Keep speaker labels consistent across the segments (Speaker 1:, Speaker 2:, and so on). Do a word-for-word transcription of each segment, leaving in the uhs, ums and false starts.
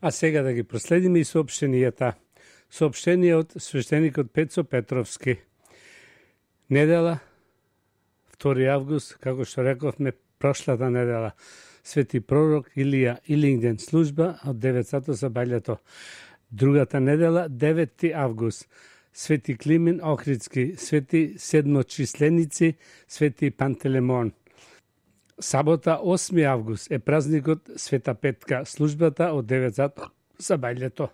Speaker 1: А сега да ги проследиме и соопштенијата. Соопштение од свештеникот Пецо Петровски. Недела, втори август, како што рековме прошлата недела, свети пророк Илија Илингден служба од девет сати за бајлето. Другата недела, деветти август, свети Климен Охридски, свети седмочисленици, свети Пантелемон. Сабота, осми август, е празникот Света Петка, службата од девет сати за бајлето.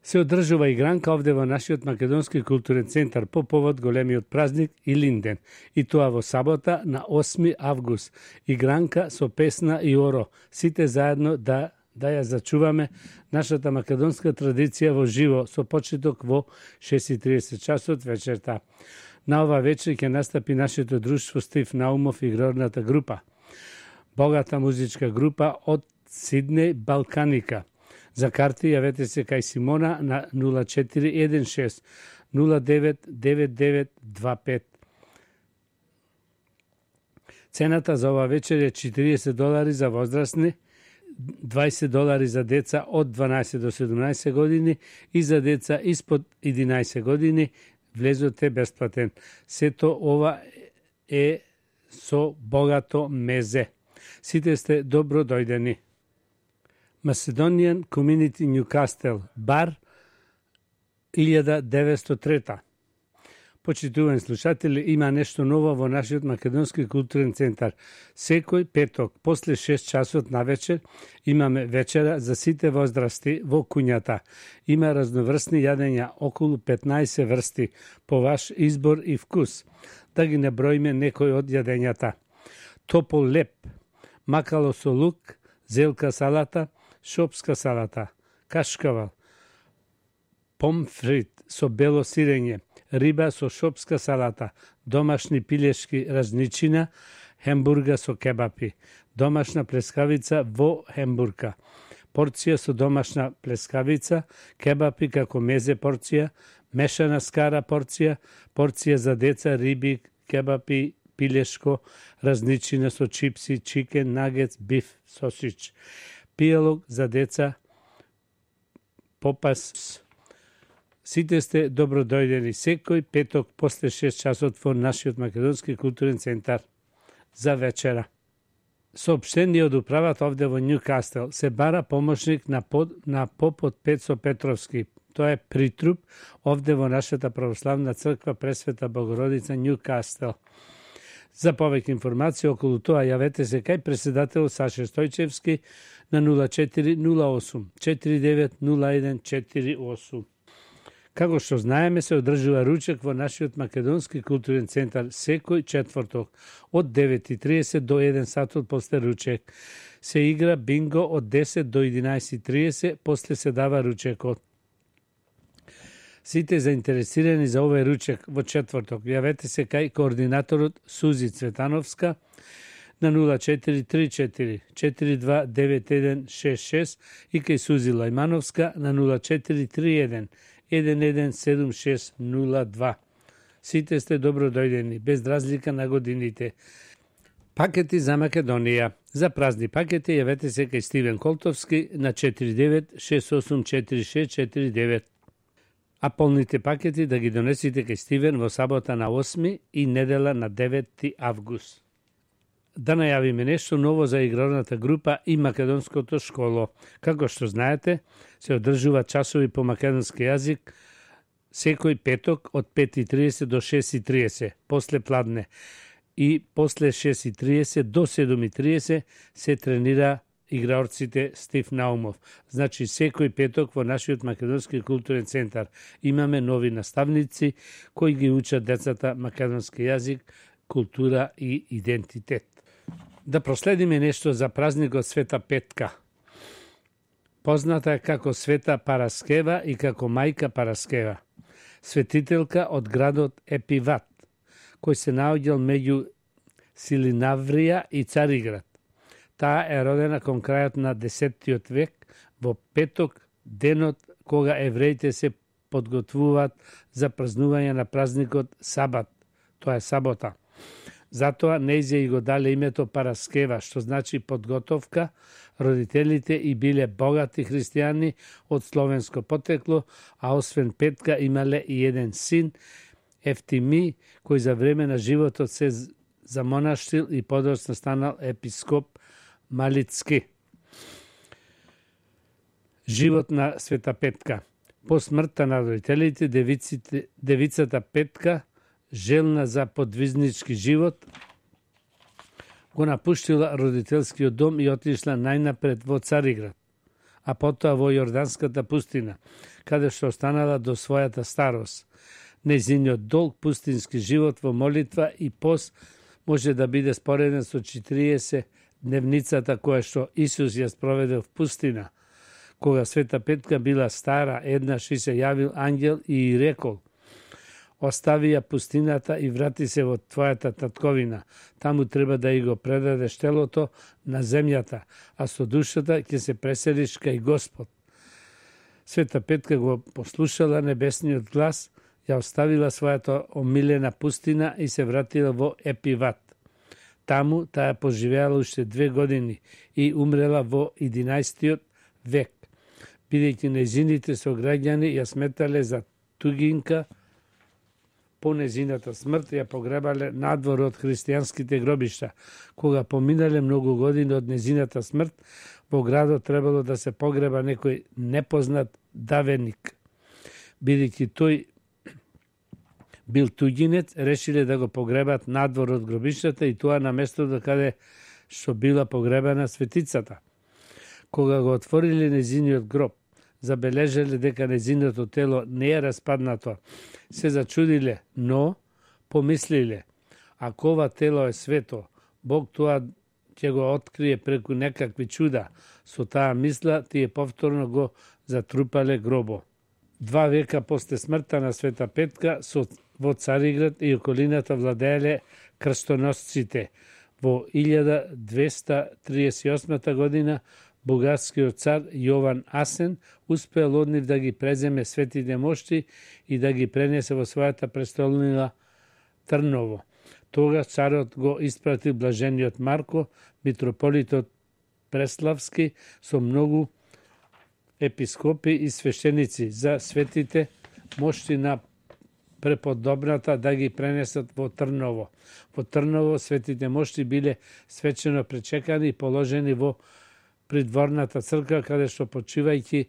Speaker 1: Се одржува игранка овде во нашиот Македонски културен центар по повод големиот празник Илинден, и тоа во сабота на осми август. Игранка со песна и оро, сите заедно да да ја зачуваме нашата македонска традиција во живо со почеток во шест и тридесет часот вечерта. На ова вечер ќе настапи нашето друштво Стив Наумов и игрорната група. Богата музичка група од Сиднеј Балканика. За карти јавете се кај Симона на нула четири еден шест нула девет девет девет два пет. Цената за ова вечер е четириесет долари за возрастни, дваесет долари за деца од дванаесет до седумнаесет години и за деца испод единаесет години. Влезот е бесплатен. Сето ова е со богато мезе. Сите сте добро дојдени. Macedonian Community Newcastle, бар илјада деветстотини и трета. Почитувани слушатели, има нешто ново во нашиот Македонски културен центар. Секој петок, после шест часот на вечер, имаме вечера за сите возрасти во куњата. Има разноврсни јадења, околу петнаесет врсти, по ваш избор и вкус. Да ги наброиме некои од јадењата. Топол леп, макало со лук, зелка салата, шопска салата, кашкавал, помфрит со бело сирење, риба со шопска салата, домашни пилешки разничина, хембурга со кебапи, домашна плескавица во хембурга, порција со домашна плескавица, кебапи како мезе порција, мешана скара порција, порција за деца, риби, кебапи, пилешко, разничина со чипси, чикен, нагетс, биф, сосич. Пијалог за деца, попас. Сите сте добро дојдени секој петок после шест часот во нашиот Македонски културен центар за вечера. Соопштение од управата овде во Ньюкастел. Се бара помошник на, под, на попот Пецо Петровски. Тоа е притруп овде во нашата православна црква Пресвета Богородица Ньюкастел. За повеќе информација околу тоа јавете се кај председател Саше Стојчевски на нула четири нула осум четири девет нула еден четири осум. Како што знаеме, се одржува ручек во нашиот Македонски културен центар секој четврток од девет и тридесет до еден сатот после ручек. Се игра бинго од десет до единаесет и тридесет, после се дава ручекот. Сите заинтересирани за овој ручек во четврток јавете се кај координаторот Сузи Цветановска на нула четири три четири четири два девет еден шест шест и кај Сузи Лајмановска на нула четири три еден еден еден седум шест нула два. Сите сте добро дојдени, без разлика на годините. Пакети за Македонија. За празни пакети јавете се кај Стивен Колтовски на четири девет шест осум четири шест четири девет. А полните пакети да ги донесите кај Стивен во сабота на осми и недела на деветти август. Да најавиме нешто ново за игрорната група и македонското школо. Како што знаете, се одржува часови по македонски јазик секој петок од пет и тридесет до шест и тридесет, после пладне. И после шест и тридесет до седум и тридесет се тренира играорците Стив Наумов. Значи, секој петок во нашиот Македонски културен центар имаме нови наставници кои ги учат децата македонски јазик, култура и идентитет. Да проследиме нешто за празникот Света Петка. Позната е како Света Параскева и како мајка Параскева. Светителка од градот Епиват, кој се наоѓал меѓу Силинаврија и Цариград. Таа е родена кон крајот на десеттиот век, во петок, денот кога евреите се подготвуваат за празнување на празникот Сабат, тоа е сабота. Затоа нејзе и го дале името Параскева, што значи подготовка. Родителите и биле богати христијани од словенско потекло, а освен Петка имале и еден син, Ефтими, кој за време на животот се замонаштил и подоцна станал епископ Малицки. Живот на Света Петка. По смртта на родителите, девиците, девицата Петка, желна за подвизнички живот, го напуштила родителскиот дом и отишла најнапред во Цариград, а потоа во Јорданската пустина, каде што останала до својата старост. Нејзиниот долг пустински живот во молитва и пост може да биде спореден со четириесет дневницата која што Исус ја спроведе в пустина. Кога Света Петка била стара, еднаш и се јавил ангел и рекол: остави ја пустината и врати се во твојата татковина. Таму треба да и го предадеш телото на земјата, а со душата ќе се преселиш кај Господ. Света Петка го послушала небесниот глас, ја оставила својата омилена пустина и се вратила во Епиват. Таму таа поживеала уште две години и умрела во единаесеттиот век, бидејќи нејзините сограѓани ја сметале за тугинка. По незината смрт ја погребале надвор од христијанските гробишта. Кога поминале многу години од незината смрт, во градот требало да се погреба некој непознат давеник. Бидејќи тој бил туѓинец, решиле да го погребат надвор од гробиштата и тоа на местото каде што била погребана светицата. Кога го отвориле незиниот гроб, забележале дека незиното тело не е распаднато, се зачудиле, но помислиле: ако ова тело е свето, Бог тоа ќе го открие преку некакви чуда. Со таа мисла тие повторно го затрупале гробо. Два века после смртта на Света Петка со во Цариград и околината владееле крстоносците. Во илјада двеста триесет и осма година бугарскиот цар Јован Асен успеал од нив да ги преземе светите мошти и да ги пренесе во својата престолнина Трново. Тогаш царот го испратил блажениот Марко, митрополитот Преславски, со многу епископи и свештеници за светите мошти на преподобната да ги пренесат во Трново. Во Трново светите мошти биле свечено пречекани и положени во придворната црква, каде што почивајќи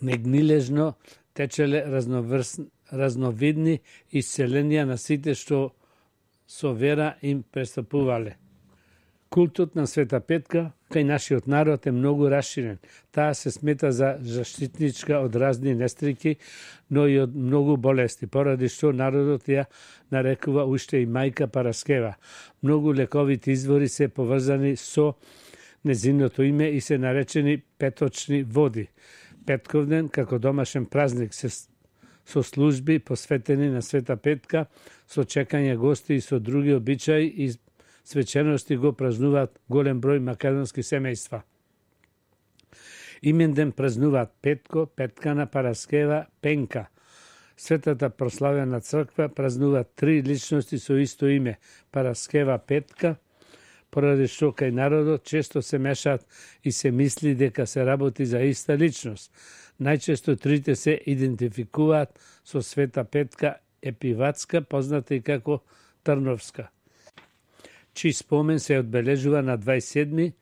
Speaker 1: негнилежно течеле разноврсни, разновидни исцеленија на сите што со вера им престапувале. Култот на Света Петка кај нашиот народ е многу расширен. Таа се смета за заштитничка од разни нестрики, но и од многу болести, поради што народот ја нарекува уште и мајка Параскева. Многу лековити извори се поврзани со незиното име и се наречени петочни води. Петковден, како домашен празник, се со служби посветени на Света Петка, со чекање гости и со други обичаи и свечености го празнуваат голем број македонски семејства. Именден празнуваат Петко, Петкана, Параскева, Пенка. Светата прославена црква празнуваат три личности со исто име – Параскева, Петка, поради што кај народот често се мешаат и се мисли дека се работи за иста личност. Најчесто трите се идентификуваат со Света Петка Епиватска, позната и како Трновска, чиј спомен се одбележува на дваесет и седми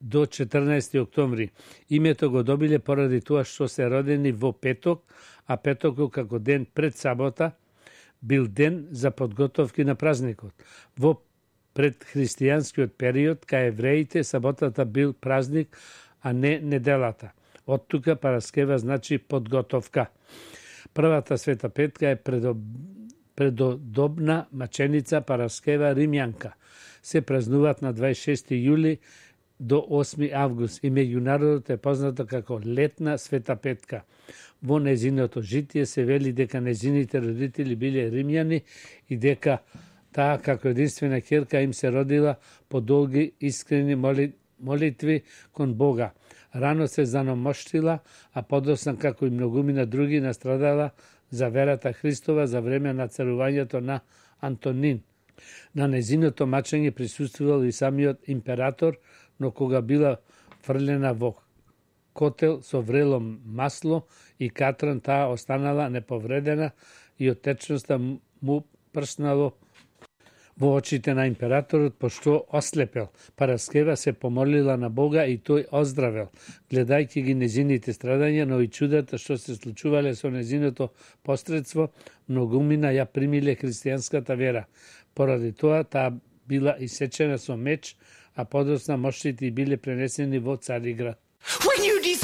Speaker 1: до четрнаесети октомври. Името го добиле поради тоа што се родени во петок, а петокот како ден пред сабота бил ден за подготовки на празникот. Во предхристијанскиот период, кај евреите, саботата бил празник, а не неделата. Од тука Параскева значи подготовка. Првата Света Петка е предоб... предодобна маченица Параскева Римјанка. Се празнуваат на дваесет и шести јули до осми август и меѓу народот е позната како летна Света Петка. Во незиното житие се вели дека незините родители биле римјани и дека таа како единствена ќерка им се родила по долги искрени моли... молитви кон Бога. Рано се заномоштила, а подосна како и многумина други настрадала за верата Христова за време на царувањето на Антонин. На незиното мачење присуствувал и самиот император, но кога била фрлена во котел со врело масло и катран, таа останала неповредена и од течноста му прснало во очите на императорот, пошто ослепел. Параскева се помолила на Бога и тој оздравел, гледајќи ги незините страдања, но и чудата што се случувале со незиното посредство, многумина ја примиле христијанската вера. Поради тоа таа била исечена со меч, а подосна мошите биле пренесени во Цариград.
Speaker 2: When you